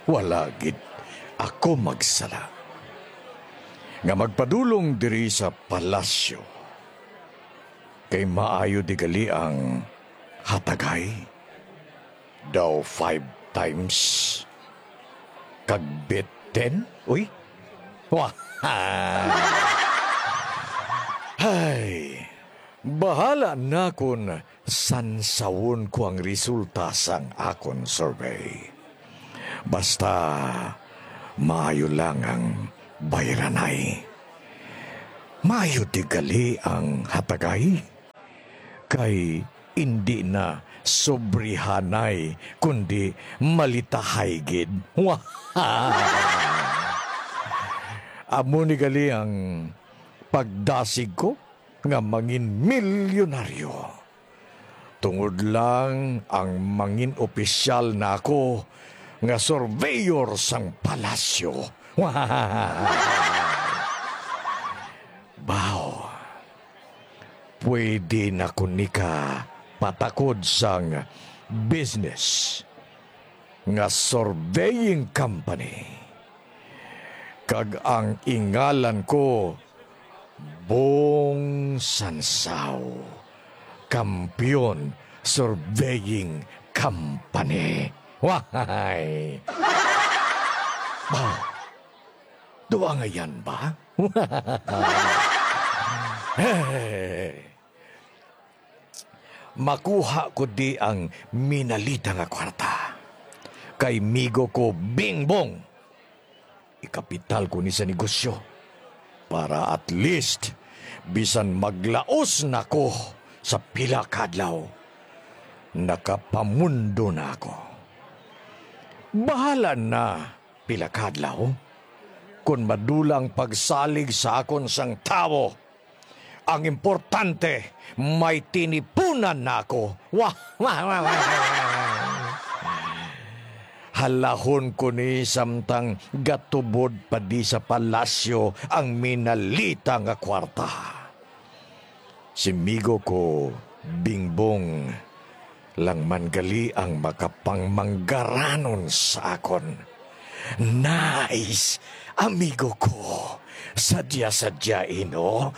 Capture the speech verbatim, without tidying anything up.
Wala gid ako magsala nga magpadulong diri sa palasyo, kay maayo di gali ang hatagay daw five times kag bet ten. Uy, wah. Hay, bahala na kon sansawon ko ang resulta sang akon survey. Basta maayo lang ang bayranay. Maayo di gali ang hatagay, kay indi na sobrihanay, kundi malitahay gid. Amo ni gali ang pagdasig ko nga mangin milyonaryo. Tungod lang ang mangin opisyal na ako nga surveyor sang palasyo. Baw, pwede na ko nika patakod sang business nga surveying company. Kag ang ingalan ko, Bong Sansao, Kampiyon Surveying Company. Wahay! Ba? Duangayan ba? Hey! Makuha ko di ang minalita nga kwarta. Kay migo ko, Bingbong, ikapital ko ni sa negosyo para at least bisan maglaos na ko sa pila ka adlaw, nakapamundo na ako. Bahala na pila ka adlaw kon madula ang pagsalig sa akon sang tawo. Ang importante, may tinipunan na ako. Wah, wah, wah, wah, wah. Halahon ko ni samtang gatubod pa di sa palasyo ang minalita nga kwarta. Si migo ko, Bingbong, lang man gali ang makapangmanggaranon sa akon. Nice, amigo ko. Sadya-sadya ino.